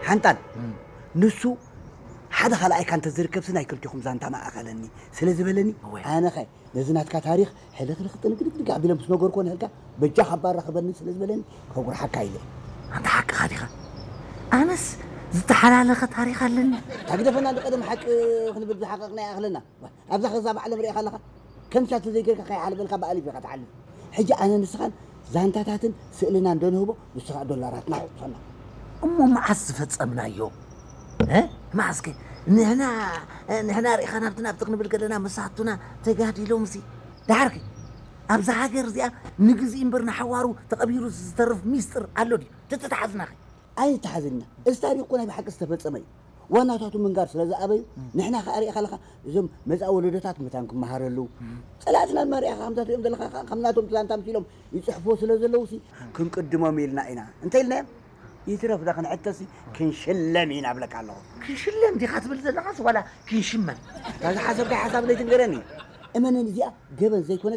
ሓንጣል፣ ንሱ ሓደ ካልኣይካ እንተዝርከብሲ ናይ ክልቲኹም ዛንታ መኣኸለኒ ስለ ዝበለኒ፣ ኣነኸ ነዚ ናትካ ታሪኽ ሕልኽልኽ ጥንግድግድግ ኣቢለ ምስ ነገርኮ ንህልካ በጃ ካብ ባራ ክበኒ ስለ ዝበለኒ ከጉርሓካ ኢለ። ኣንታ ሓቅኻ ዲኻ? ኣነስ ዝተሓላለኸ ታሪኽ ኣለኒ። ታግደፈና እንዲ ቀደም ሓቂ ክንብል ዝሓቀቕና ይኣኽለና። ኣብዛ ኸዛ ብዓለም ሪእኻ ኣለኻ? ከምሻ ተዘይገርካ ከይሓልበልካ ብኣሊፍ ኢኻ ትሓልፍ። ሕጂ ኣነ ንስኻን ዛንታታትን ስእልና እንደንህቦ ንስኻ ዶላራትና ሕቑፈና። እሞ መዓስ ዝፈጸምናዮ? እ? መዓስከ? ንሕና ንሕና ርኢኻ ናብቲ ናብቲ ክንብል ከለና መሳቱና ተጋዲሎም ሲ። ደሓርኪ ኣብዛ ሃገር እዚኣ ንግዜኡ እምበር ንሓዋሩ ተቐቢሩ ዝተርፍ ሚስጥር ኣሎ ድዩ? ተተተሓዝናኸ? ኣይተሓዝና። እዚ ታሪኽ እኮ ናይ ብሓቂ ዝተፈጸመ እዩ። ዋናታቱ ምንጋር ስለ ዝኣበዩ፣ ንሕና ከኣ ርኢኻ ኣለኻ፣ እዞም መጻኢ ወለዶታት መታን ክመሃረሉ፣ ጸላእትና ድማ ርኢኻ ከምታት ሪኦም ዘለኻ ከኣ ከም ናቶም ዛንታ ኣምሲሎም ይጽሕፍዎ ስለ ዘለዉ ሲ፣ ክንቅድሞም ኢልና ኢና። እንተ ኢልናዮም፣ ይትረፍ ዳ ክንሕተሲ፣ ክንሽለም ኢና እብለካ ኣለኹ። ክንሽለም ዲኻ ትብል ዘለኻስ ዋላ ክንሽመም? እታ ዝሓሰብካያ ሓሳብ ዘይትንገረኒ። እመነኒ፣ እዚኣ ገበን ዘይኮነት፣